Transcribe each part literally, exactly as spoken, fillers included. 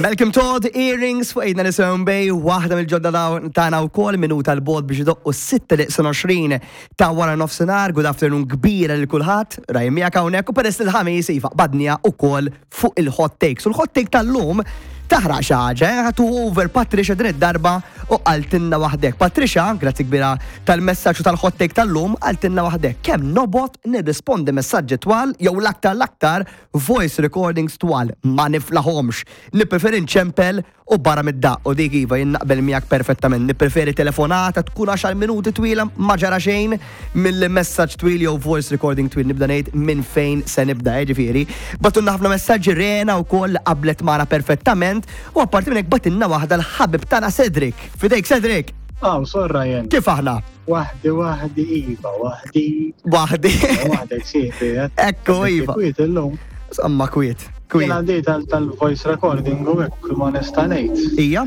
Malcolm Todd, Earrings, fuq Ejna Nisimgħu Bay, waħda mill-ġodda tagħna wkoll minuta 'l bogħod biex idoqqu sitta neqsin għoxrin ta' wara nofsinhar. Good afternoon kbira lil kulħadd, Ryan miegħek hawnhekk u peress il-Ħamis iva badnija ukoll fuq il-hot takes. U l-hot take tal-lum taħraq xi ħaġa, eh? Ħatu over Patricia din id-darba u qaltilna waħdek. Patricia, grazzi kbira tal-messaġġ u tal-hot take tal-lum, qaltilna waħdek. Kemm nobgħod nirrispondi messaġġi twal jew l-aktar l-aktar voice recordings twal, ma niflaħomx. Nippreferi nċempel u barra mid-daq u dik iva jien naqbel miegħek perfettament. Nippreferi telefonata tkun għaxar minuti twila ma ġara xejn mill-messaġġ twil jew voice recording twil nibda ngħid minn fejn se nibda eh, ġifieri. Bagħtulna ħafna messaġġi Rena wkoll qablet magħna perfettament u apparti minn hekk bagħtilna waħda l-ħabib tagħna Cedric. Fidejk Cedric. Aw, sor Ryan. Kif aħna? Waħdi, waħdi, Iva, waħdi. Waħdi. Waħdek sieħbi, eh? Ekku, Iva. Kwiet illum. Samma kwiet. Kwiet. Jien għandi tal-voice recording u hekk ma nista' ngħid. Ija?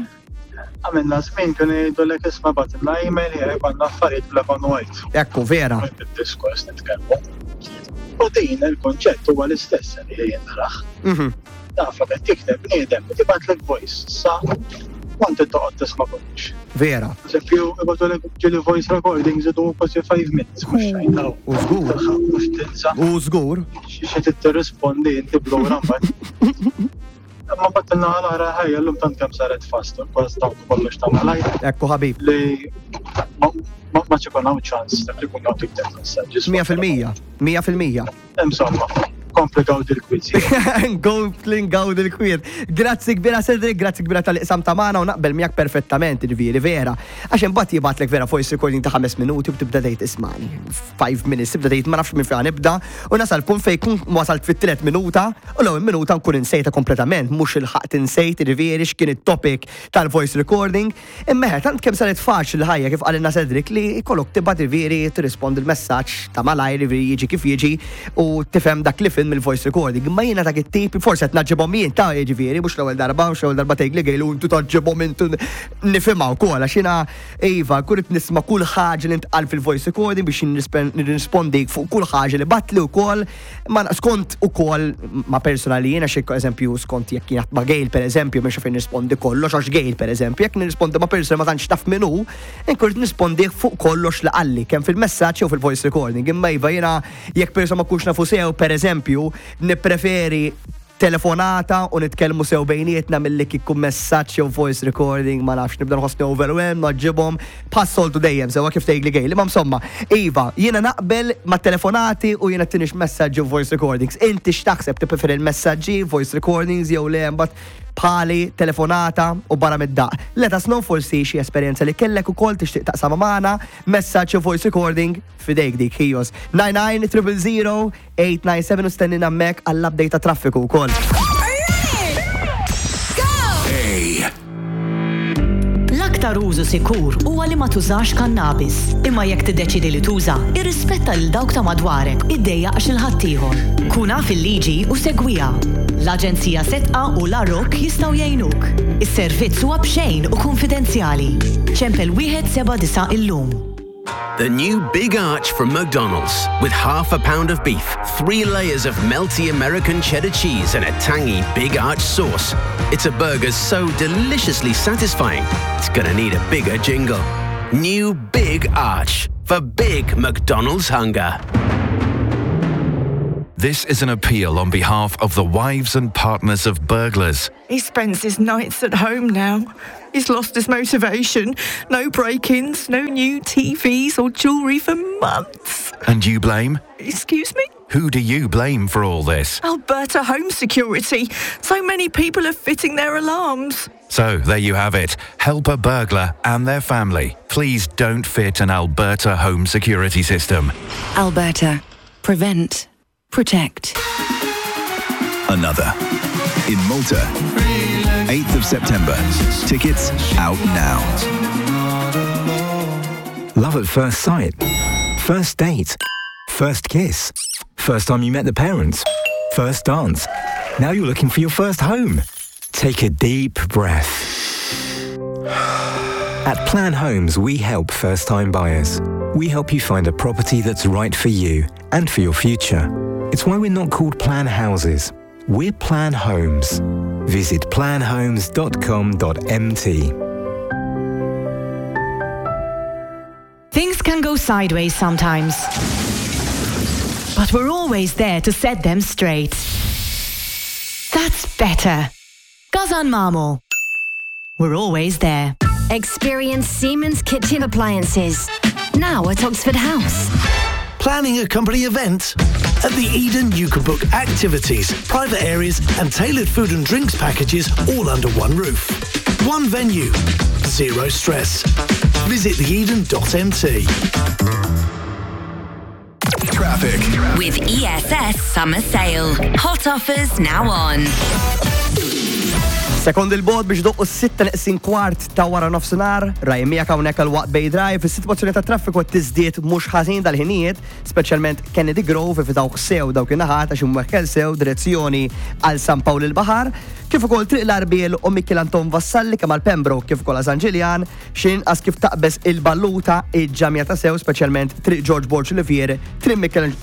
Għamilna żmien kienu jgħidulek isma' bagħtilna email jekk għandna affarijiet black on white. Ekku, vera. Bid-diskors nitkellmu. U din il-konċett huwa l-istess li jien narah. Mhm. Taf qed tikteb bniedem, tibgħatlek voice, sa want toqgħod tisma' kollox. Vera. Eżempju, ibagħtulek ġieli voice recordings idu kważi five minutes, mhux xejn daw. U żgur. Mhux tinsa. U żgur. Xi tirrispondi inti blura mbagħad. Ma mbagħad in-naħa l-oħra ħajja llum tant kemm saret fast, kważi dawn kollox ta' malajr. Ekku ħabib. Li ma ma ikun hawn ċans dak li kun hawn tikteb messaġġi. Mija fil-mija. Mija fil-mija. Insomma, kompli gawdi l-kwiet. Kompli ngawdi l-kwiet. Grazzi kbira Cedric, grazzi kbira tal-iqsam ta' magħna u naqbel miegħek perfettament, ġifieri vera. Għax imbagħad jibgħatlek vera voice recording ta' ħames minuti u tibda tgħid ismani. Five minutes, tibda tgħid ma nafx minn fejn nibda u nasal punt fejn kun wasalt fit-tielet minuta u l-ewwel minuta nkun insejta kompletament, mhux il-ħaqt insejt ġifieri x'kien it-topic tal-voice recording. Imma tant kemm saret faċli l-ħajja kif qalilna Cedric li jkollok tibgħat ġifieri tirrispondi l-messaġġ ta' malajr ġifieri jiġi kif jiġi u tifhem dak li film mill-voice recording. Imma jiena dak it-tip forsi qed naġġibhom jien ta' jiġifieri mhux l-ewwel darba, mhux l-ewwel darba tgħidli gejlu intu taġġibhom intu nifhimha wkoll għax jiena iva kull nisma' kull ħaġa li ntqal fil-voice recording biex nirrispondi fuq kull ħaġa li bagħatli wkoll ma skont ukoll ma personali jiena xi eżempju skont jekk jien ma' Gail pereżempju mhux fejn nirrispondi kollox għax Gail pereżempju jekk nirrispondi ma' persona ma tantx taf min hu, inkun nirrispondi fuq kollox li qalli kemm fil-messaġġ jew fil-voice recording. Imma iva jiena jekk persona ma kunx nafu sew pereżempju nippreferi telefonata u nitkellmu sew bejnietna milli kieku messaġġ jew voice recording ma nafx nibda nħossni overwhelmed naġġibhom bħas-soltu dejjem sewwa kif tgħidli Gail. Imma insomma, iva, jiena naqbel ma' telefonati u jiena tinix messaġġi u voice recordings. Inti x'taħseb tippreferi l-messaġġi, voice recordings jew le mbagħad bħali telefonata u barra mid-daq. Let us know forsi xi esperjenza li kellek ukoll tixtieq taqsam magħna, messaġġ u voice recording fidejk dik ħijos. nine nine triple zero eight nine seven u stennina hemmhekk għall-update ta' traffiku wkoll. A. L-aktar użu sikur huwa li ma tużax kannabis. Imma jekk tiddeċidi li tuża, irrispetta lil dawk ta' madwarek, iddejjaqx lil ħaddieħor. Kun af il-liġi u segwiha. L-Aġenzija Sedqa u l-Arok jistgħu jgħinuk. Is-servizz huwa b'xejn u konfidenzjali. Ċempel wieħed seba' disa' illum. The new Big Arch from McDonald's, with half a pound of beef, three layers of melty American cheddar cheese, and a tangy Big Arch sauce. It's a burger so deliciously satisfying, it's gonna need a bigger jingle. New Big Arch for big McDonald's hunger. This is an appeal on behalf of the wives and partners of burglars. He spends his nights at home now. He's lost his motivation. No break ins, no new T Vs or jewellery for months. And you blame? Excuse me? Who do you blame for all this? Alberta Home Security. So many people are fitting their alarms. So there you have it. Help a burglar and their family. Please don't fit an Alberta home security system. Alberta. Prevent. Protect. Another. In Malta, eighth of September. Tickets out now. Love at first sight. First date. First kiss. First time you met the parents. First dance. Now you're looking for your first home. Take a deep breath. At Plan Homes, we help first-time buyers. We help you find a property that's right for you and for your future. It's why we're not called Plan Houses. We're Plan Homes. Visit plan homes dot com dot M T. Things can go sideways sometimes. But we're always there to set them straight. That's better. GasanMamo. We're always there. Experience Siemens kitchen appliances. Now at Oxford House. Planning a company event? At the Eden, you can book activities, private areas, and tailored food and drinks packages all under one roof. One venue, zero stress. Visit the eden dot M T. Traffic. With E S S Summer Sale. Hot offers now on. Sekondi 'l bogħod biex idoqqu s-sitta neqsin kwart ta' wara nofsinhar, raj miegħek hawnhekk għal waqt Bay Drive, is-sitwazzjoni ta' traffiku tiżdied mhux ħażin dal-ħinijiet, speċjalment Kennedy Grove evitaw sew dawk in-naħat għax imwekkel sew direzzjoni għal San Pawl il-Baħar, kif ukoll Triq l-Arbiel u Mikiel Anton Vassalli kemm għal Pembroke kif ukoll għal San Ġiljan, xejn inqas kif taqbeż il-Balluta iġġamja ta' sew, speċjalment Triq George Borg Olivier, Triq Michel-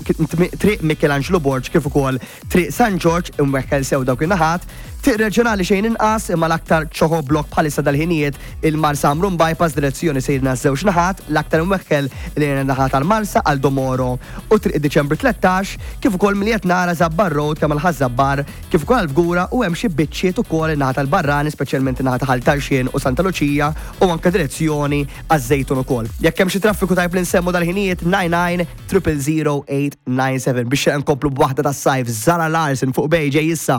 Triq Michelangelo Borg kif ukoll Triq San George imwekkel sew dawk in-naħat. Triq Reġjonali xejn inqas, imma l-aktar chock-a-block bħalissa dal-ħinijiet il-Marsa Ħamrun Bypass direzzjoni sejrna żewġ naħat, l-aktar imwekkel li naħat għal-Marsa għal Domoro u Triq Diċembru tlettax, kif ukoll milli nara Żabbar Road kemm għal Ħaż-Żabbar kif ukoll għal-Fgura u hemm xi biċċiet ukoll in-naħa tal-Barrani, speċjalment in-naħa ta' Ħal Tarxien u Santa Luċija u anke direzzjoni għaż-Żejtun ukoll. Jekk hemm xi traffiku tajb li nsemmu dal-ħinijiet, nine nine triple zero eight nine seven biex nkomplu b'waħda tas-sajf, Zara Larsson fuq Bay ġej issa.